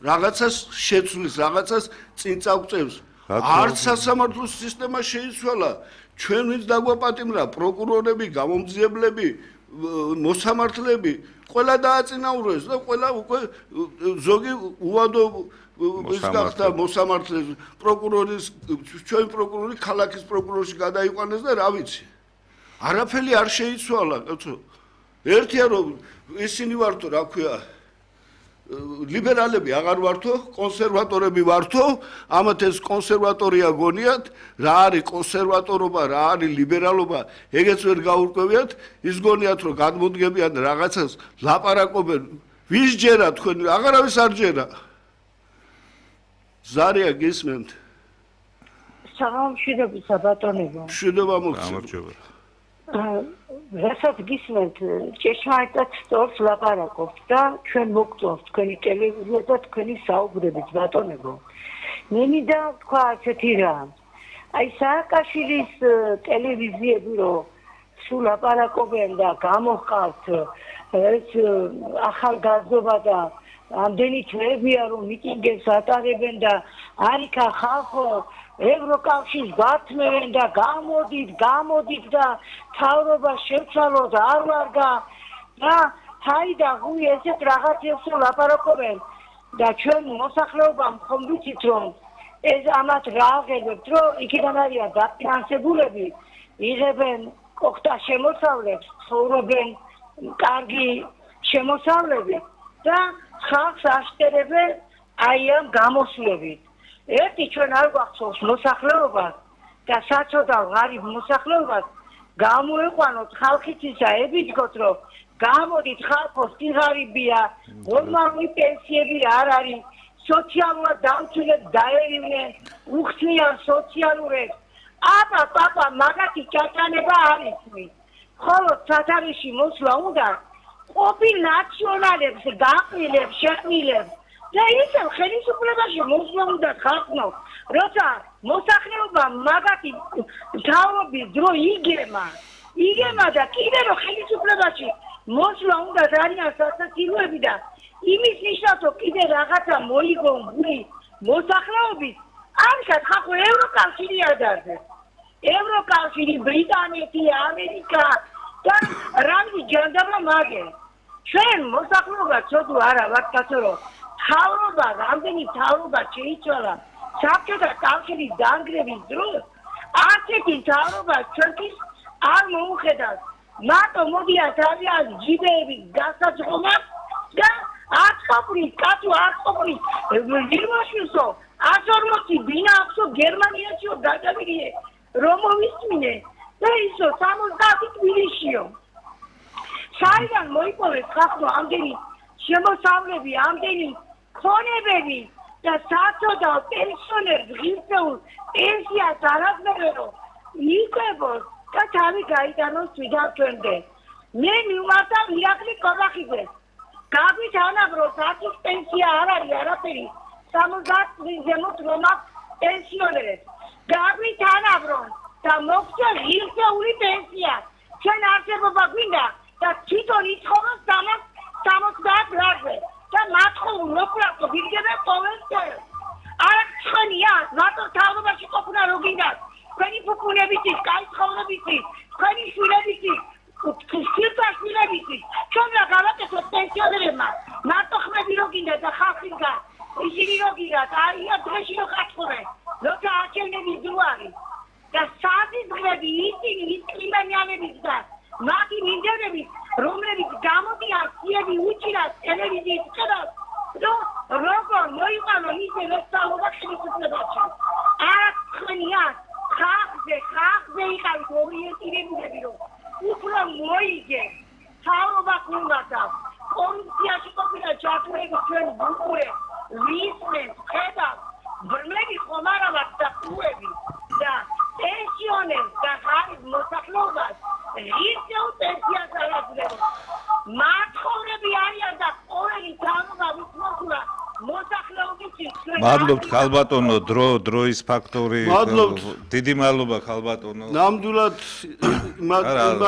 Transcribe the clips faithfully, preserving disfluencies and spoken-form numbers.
რაღაცას შეცვლის, რაღაცას წინ წაგვწევს. არც სასამართლო სისტემა შეიცვალა. ჩვენ ვინც დაგვაპატიმრა, პროკურორები, გამომძიებლები, მოსამართლეები, ყველა დააწინაურეს და ყველა უკვე ზოგი უვადო ის გახდა მოსამართლე, პროკურორის, ჩვენ პროკურორი ქალაქის პროკურორში გადაიყვანეს და რა ვიცი. არაფერი არ შეიცვალა, კაცო. ერთია რომ ისინი ვართო, რა ქვია, ლიბერალები აღარ ვართო, კონსერვატორები ვართო, ამათ ეს კონსერვატორია გონიათ, რა არის კონსერვატორობა, რა არის ლიბერალობა, ეგეც ვერ გაურკვევიათ, ის გონიათ რომ გადმოდგებიან რაღაცას, ლაპარაკობენ, ვის ჯერა თქვენ, აღარავის არ ჯერა. ზარია გისმენთ. სამშვიდობისა ბატონებო. მშვიდობა მოგცემ. რასაც გისმენთ, ჭეშმარიტად სწორს ლაპარაკობთ და ჩვენ მოგწონს თქვენი ტელევიზია და თქვენი საუბრებით ბატონებო. მე მინდა თქვა ასეთი რამ. აი სააკაშვილის ტელევიზიები რომ სულ ლაპარაკობენ და გამოჰყავთ ეს ახალგაზრდობა და ამდენი თვეებია რომ მიტინგებს ატარებენ და არიქა ხალხო ევროკავშირს გართმევენ და გამოდით, გამოდით და თავრობა შევცვალოთ არ ვარგა და თაიდა ღუი ესეთ რაღაცებს ლაპარაკობენ და ჩვენ მოსახლეობამ ხომ ვიცით რომ ეს ამათ რა აღებებთ რომ იქიდან არიან დაფინანსებულები იღებენ კოხტა შემოსავლებს ცხოვრობენ კარგი შემოსავლები და ხალხს აშტერებენ აი ამ გამოსვლებით. ერთი ჩვენ არ გვახსოვს მოსახლეობას და საწოდავ ღარიბ მოსახლეობას გამოეყვანოთ ხალხის ისა ებიძგოთ რომ გამოდით ხალხო სიღარიბია ნორმალური პენსიები არ არის სოციალურად დამცველებს დაერივნენ უხსნიან სოციალურებს აბა პაპა მაგათი ჩატანება არ იცვით ხოლო სათარიში მოსვლა უნდა ყოფილ ნაციონალებს გაყრილებს შეყრილებს და ისევ ხელისუფლებაში მოსვლა უნდა ხალხო როცა მოსახლეობა მაგათი თავობის დრო იგემა იგემა და კიდე რომ ხელისუფლებაში მოსვლა უნდა ძალიან სასაცილოები და იმის ნიშნავს რომ კიდე რაღაცა მოიგონ გული მოსახლეობის ამისად ხალხო ევროკავშირი ადარდეს ევროკავშირი ბრიტანეთი ამერიკა და რამე ჯანდაბა მაგე ჩვენ მოსახლეობა ცოდვა არა ვართ კაცო რომ თავრობა რამდენი თავრობა შეიცვალა საბჭოთა კავშირის დანგრევის დროს ასეთი თავრობა ჩვენთვის არ მოუხედავს მარტო მოდიან თავიანთ ჯიბეების გასაძღობად და აწყოფრის კაცო აწყოფრის ვირმაშვილსო ათს ორმოცი ბინა აქვსო გერმანიაშიო გადავიდე რომ მოვისმინე და ისო სამოცდაათი თბილისშიო საიდან მოიპოვეს ხალხო ამდენი შემოსავლები ამდენი ქონებები და საწოდავ პენსიონერს ღირსეულ პენსიას არაძლევრო იკვებოს და თავი გაიტანოს თვითონ ჩვენდე მე მივმართავ ირაკლი კობახიძეს გაგვით ანაბროს ათის პენსია არ არის არაფერი სამოცდაათი ზემოთ რომ აქვს პენსიონერებს გაგვით ანაბრონ და მოგწე ღირსეული პენსია ჩვენ არსებობა გვინდა და თვითონ იცხოვროს სამოცდაათ ლარზე და მათხოვულ მოკლავო ვიგებენ ყოველდღე არა ხანია მარტო თავობაში ყოფნა რო გინდათ თქვენი ფუფუნებიც ის კაი ცხოვრებიც ის თქვენი შვილებიც ის სიტუაციებიც ის ჩვენ რა გავაკეთოთ პენსიონერებმა მარტო ხმები რო გინდა და ხალხისგან ისინი რო გინდათ აი დღეში რო გაცხოვრენ როცა აჩენების დრო არის და საათის დღეები ისინი ის კლიმანიანების და მათი მინდვრებით რომლებიც გამოდიან სიები უჭირას ტელევიზიის ხედავს რომ როგორ მოიყვანო ისე ვესწავლობა ხელისუფლებაში არა ხნია ხალხზე ხალხზე იყავით ორიენტირებულები რომ უფრო მოიგე თავრობა გულმათა კორუფციაში ყოფილა ჩართულები ჩვენ ბუნკურე ვისმენ ხედავ ბრმლები ხომ არა ვართ და ყუები და პენსიონერს და ღარიბ მოსახლეობას ღირსეულ პენსიას არაძლევს მათხოვრები არიან და ყოველი თავრობა ვისმოხულა მოსახლეობისთვის მადლობთ ხალბატონო დრო დროის ფაქტორი დიდი მადლობა ხალბატონო ნამდვილად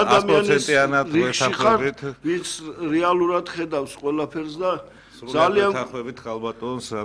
ადამიანის რიხშიხართ ვის რეალურად ხედავს ყველაფერს და ძალიან თახვებით ხალბატონს